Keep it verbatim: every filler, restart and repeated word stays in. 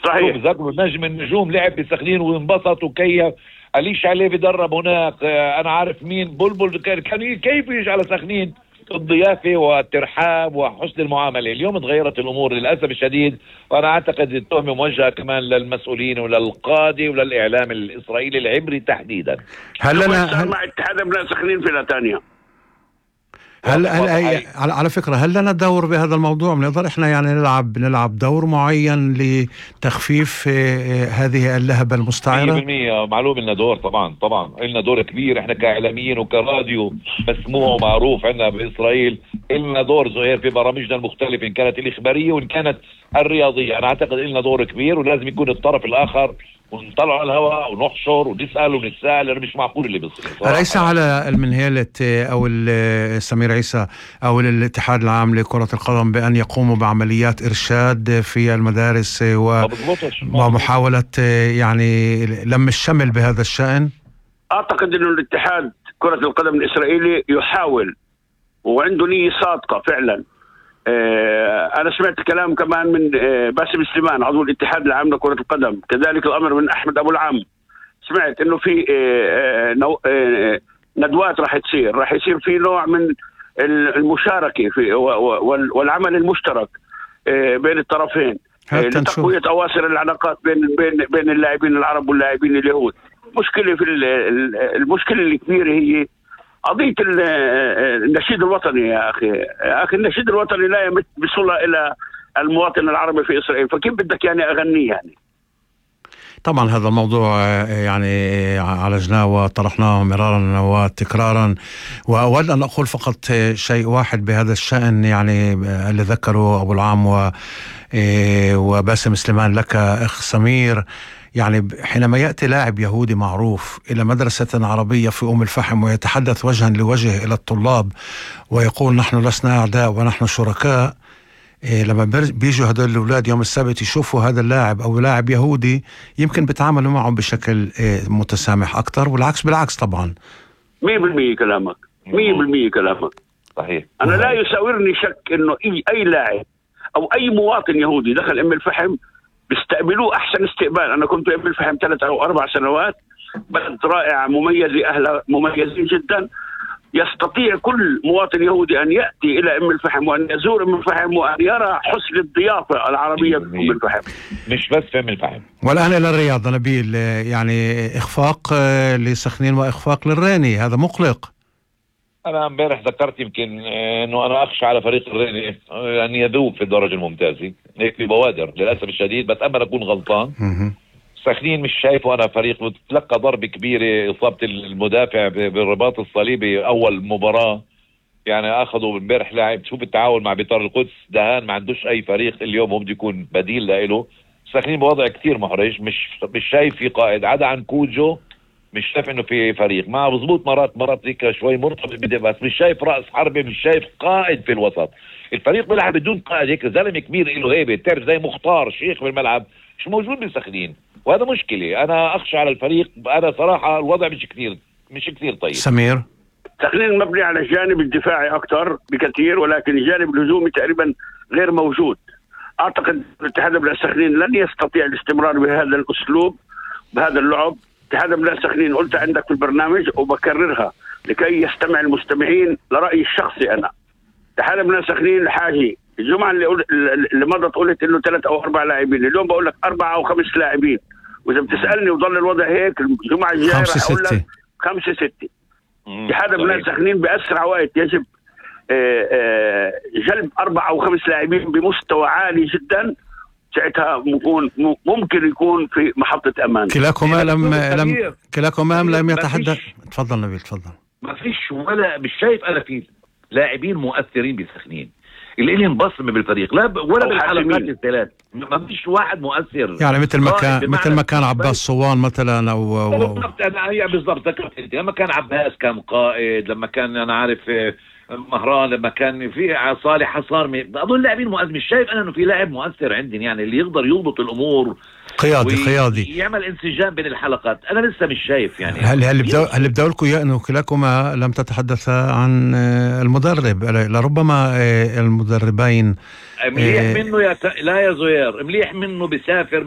صحيح. بذكروا نجم النجوم لعب بسخنين وانبسط وكيف. أليش عليه بدرب هناك. آه انا عارف مين بلبل كان كيف يجي على سخنين. الضيافة والترحاب وحسن المعاملة. اليوم تغيرت الأمور للأسف الشديد، وأنا أعتقد التهمة موجهة كمان للمسؤولين وللقادة وللإعلام الإسرائيلي العبري تحديدا. هل لنا هل مع اتحاد ابناء سخنين في نتانيا؟ هل, هل هي على, على فكرة هل لنا دور بهذا الموضوع؟ بنقدر احنا يعني نلعب نلعب دور معين لتخفيف هذه اللهبة المستعرة؟ مية بالمية معلوم لنا دور. طبعا طبعا لنا دور كبير احنا كإعلاميين وكراديو مسموع ومعروف عندنا بإسرائيل. لنا دور زهير في برامجنا المختلفة إن كانت الإخبارية وإن كانت الرياضية. أنا أعتقد لنا دور كبير ولازم يكون الطرف الآخر ونطلع على الهواء ونحشر ونسأل ونتساءل، لأنه مش معقول اللي بيصير. ليس على المنهلة أو سمير عيسى أو الاتحاد العام لكرة القدم بأن يقوموا بعمليات إرشاد في المدارس ومحاولة يعني لم الشمل بهذا الشأن؟ أعتقد أنه الاتحاد كرة القدم الإسرائيلي يحاول وعنده نية صادقة فعلا. أنا سمعت كلام كمان من باسم سليمان عضو الاتحاد العام لكرة القدم، كذلك الأمر من أحمد أبو العام. سمعت إنه في ندوات راح تصير راح يصير في نوع من المشاركة في والعمل المشترك بين الطرفين لتقوية أواصر العلاقات بين بين بين اللاعبين العرب واللاعبين اليهود. مشكلة في المشكلة الكبيرة هي قضية النشيد الوطني. يا أخي يا أخي النشيد الوطني لا يمت بصلة إلى المواطن العربي في إسرائيل، فكيف بدك يعني أغنيه يعني؟ طبعا هذا الموضوع يعني عالجناه وطرحناه مرارا وتكرارا، وأود أن أقول فقط شيء واحد بهذا الشأن يعني اللي ذكره أبو العام و وباسم سليمان لك أخ سمير. يعني حينما يأتي لاعب يهودي معروف إلى مدرسة عربية في أم الفحم ويتحدث وجها لوجه إلى الطلاب ويقول نحن لسنا أعداء ونحن شركاء، إيه لما بيجوا هدول الأولاد يوم السبت يشوفوا هذا اللاعب أو لاعب يهودي يمكن بيتعاملوا معه بشكل إيه متسامح أكتر، والعكس بالعكس. طبعا مية بالمية كلامك مية بالمية كلامك صحيح. أنا لا يساورني شك إنه أي أي لاعب أو أي مواطن يهودي دخل أم الفحم بيستقبلوه أحسن استقبال. أنا كنت أم الفحم ثلاث أو أربع سنوات، بلد رائع مميز، أهلها مميزين جدا. يستطيع كل مواطن يهودي أن يأتي إلى أم الفحم وأن يزور أم الفحم وأن يرى حسن الضيافة العربية في أم الفحم، مش بس في أم الفحم. والآن إلى الرياض نبيل، يعني إخفاق لسخنين وإخفاق للريني، هذا مقلق. أنا امبارح ذكرت يمكن إنه أنا أخشى على فريق الريني أن يذوب في الدرجة الممتازة هيك ببوادر للأسف الشديد، بتأمل أكون غلطان. سخنين مش شايفه أنا فريق تلقى ضربة كبيرة، إصابة المدافع بالرباط الصليبي أول مباراة، يعني أخذوا امبارح لاعب. شوف التعاون مع بيطار القدس، دهان ما عندوش أي فريق اليوم هو بده يكون بديل له. سخنين بوضع كتير محرج، مش مش شايف في قائد عدا عن كوجو، مش شايف إنه في فريق مع مظبوط. مرات مرات هيك شوي مرتبط بدي، بس مش شايف رأس حربة، مش شايف قائد في الوسط. الفريق بيلعب بدون قائد، هيك زلمة كبير له هيبة، تعرف زي مختار شيخ بالملعب، مش موجود بسخنين، وهذا مشكلة. أنا أخشى على الفريق. أنا صراحة الوضع مش كثير مش كثير طيب. سمير، سخنين مبني على الجانب الدفاعي أكثر بكثير، ولكن الجانب الهجومي تقريبا غير موجود. أعتقد الاتحاد ابناء سخنين لن يستطيع الاستمرار بهذا الأسلوب بهذا اللعب. اتحاد ابناء سخنين قلت عندك في البرنامج وبكررها لكي يستمع المستمعين لرأيي الشخصي. أنا اتحاد ابناء سخنين الحاجي الجمعة اللي, اللي مضت قلت إنه ثلاث أو أربع لاعبين، اليوم بقول لك أربعة أو خمس لاعبين، وإذا بتسألني وظل الوضع هيك الجمعة الجاية راح أقول لك خمسة ستة. اتحاد ابناء سخنين بأسرع وقت يجب آآ آآ جلب أربعة أو خمس لاعبين بمستوى عالي جدا، ساعتها ممكن ممكن يكون في محطة أمان. كلاكما لم لم كلاكما لم يتحدث. تفضل نبيل تفضل. ما فيش ولا مش شايف أنا في لاعبين مؤثرين بسخنين اللي لهم بصمة بالفريق، لا ولا بالحلقات الثلاث، ما فيش واحد مؤثر. يعني مثل ما كان مثل ما كان عباس صوان مثلا او بالضبط. انا هي بالضبط ذكرت انت لما كان عباس كان قائد، لما كان انا عارف مهران، لما كان في صالح حصار، اظن لاعبين مؤثر. مش شايف انا انه في لاعب مؤثر عندي يعني اللي يقدر يضبط الامور، قيادي قيادي يعمل انسجام بين الحلقات. انا لسه مش شايف يعني. هل هل بدأ هل بدأ لكم انه كلاكما لم تتحدث عن المدرب؟ لربما المدربين مليح منه يا لا يا زهير، مليح منه بسافر